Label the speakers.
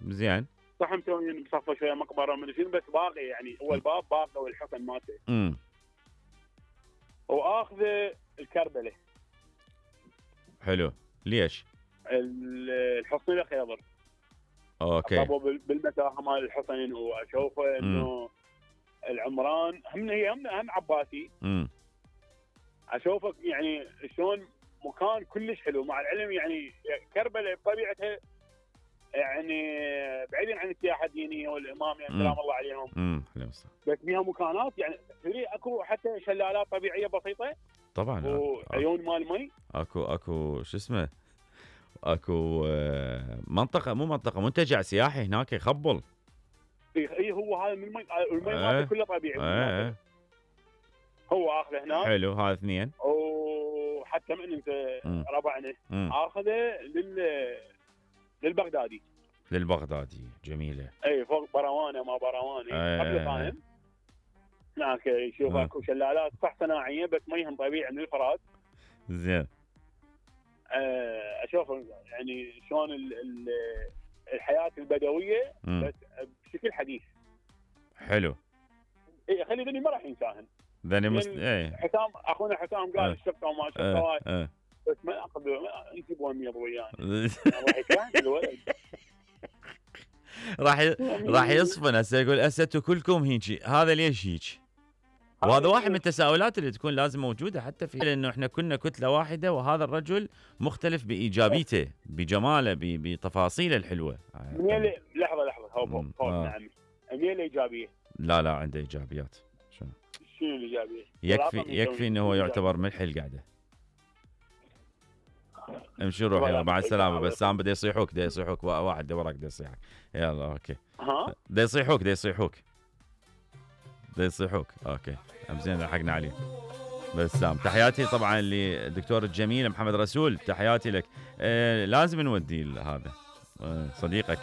Speaker 1: زين.
Speaker 2: صح مسويين بصفه شويه مقبره من شنو، بس باقي يعني هو الباب باقي والحصن مالته. واخذه الكربله.
Speaker 1: حلو. ليش؟
Speaker 2: الحصن الخيضر.
Speaker 1: اوكي.
Speaker 2: طبوا بالمتاهه مال الحصن، واشوفه انه العمران هم عباسي. اشوفك يعني شلون مكان كلش حلو، مع العلم يعني كربلاء بطبيعتها يعني بعيدا عن السياحه الدينيه والامام يعني سلام الله عليهم. بس فيها مكانات يعني تدري اكو حتى شلالات طبيعيه بسيطه
Speaker 1: طبعا،
Speaker 2: وعيون مال مي.
Speaker 1: اكو شو اسمه، اكو منطقه مو منطقه منتجع سياحي هناك يخبل.
Speaker 2: اي هو هذا من المي مالته كله طبيعي. هو اخذه هناك.
Speaker 1: حلو. هذا اثنين.
Speaker 2: وحتى من انت ربعنا اخذه للبغدادي. جميله. اي فوق بروانه ما بروانه قبل فاهم. هناك يشوف اكو شلالات صح صناعيه بس ميهم طبيعي من الفرات.
Speaker 1: زين.
Speaker 2: اشوف يعني شلون الحياه البدويه بس بشكل حديث.
Speaker 1: حلو.
Speaker 2: اي خلي ذني ما راح ينساهن. حسام اخونا حسام قال الشقه وما شقه بس ما اخذ انت بومي ويانا راح يكره الولد.
Speaker 1: راح يصفن هسه يقول اسيتوا كلكم هيك، هذا ليش هيك؟ وهذا واحد من التساؤلات اللي تكون لازم موجوده حتى في لانه احنا كنا كتله واحده، وهذا الرجل مختلف بايجابيته بجماله بتفاصيله الحلوه.
Speaker 2: لحظه فوق نعم. هي الايجابيه.
Speaker 1: لا عنده ايجابيات. شنو
Speaker 2: الايجابيه؟
Speaker 1: يكفي انه هو يعتبر ملح القعده. امشي روح يلا مع السلامه. بسام بده يصيحوك واحد وراك بده يصيحك. يلا اوكي. بده يصيحوك اوكي. زين لحقنا عليه. بسام تحياتي طبعا للدكتور الجميل محمد رسول، تحياتي لك. لازم نودي هذا صديقك